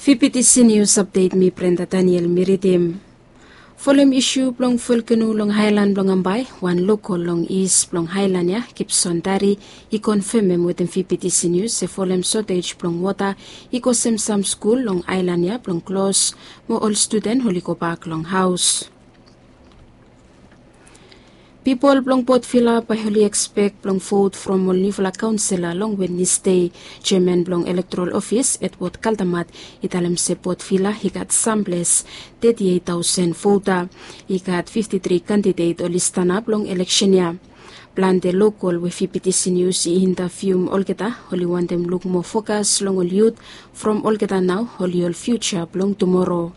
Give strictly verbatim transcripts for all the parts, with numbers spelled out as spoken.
Fifty Seniors Update, mi Brenda Daniel mi ridim. Folem isu blong volkeno long haelan blong Ambae, wan lokol long is blong haelan ya, Gibson Dari, i konfemem wetem Fifty Seniors se folem sotej blong wota i kosem sam skul long aelan ya blong klos, mo ol studen oli gobak long haos. Pipol blong Port Vila bae oli ekspek blong vot from ol niufala kaonsela long Wednesde. Jeaman blong elektoral ofis, Edward Kaldamat, i talem se Port Vila i gat samples teti eit taosen vota. I gat fifti tri kandidet oli stanap long eleksen ya. Plante lokol we Fifty Seniors i intavium olgeta, oli wantem luk moa fokas long ol yut, from olgeta nao oli ol fiuja blong tumoro.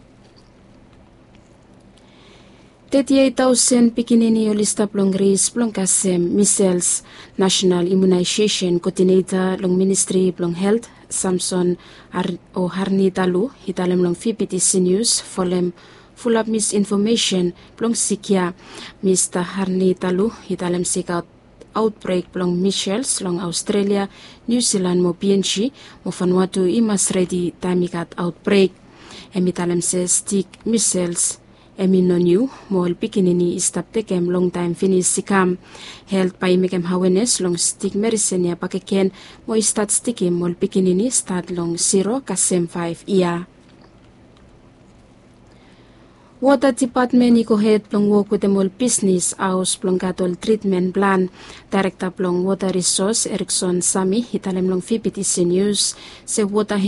Teti eit taosen pikinini oli stap long res blong kasem misels. Nasenal Imunaesesen Koodineta long Ministri blong Helt, Samson Har-, o Harni Talu, i talem long Fifty Seniors folem fulap misinfomesen blong sik ya. Mista Harni Talu i talem se i gat aotbrek blong misels long Aostrelia, Niu Silan mo Pienji, mo Vanuatu i mas redi taem i gat aotbrek. Hem i talem se stik misels hem i no niu, mo ol pikinini i stap tekem longtaem finis i kam. Helt bae i mekem awenes long stik medisen ya bakegen, mo i stat stikem ol pikinini stat long zero kasem faef yia. Wota Dipatmen i gohed blong wok wetem ol bisnis haos blong gat ol tritmen plan. Daerekta blong Wota Risos, Erikson Sami, i talem long Fifty Seniors se wota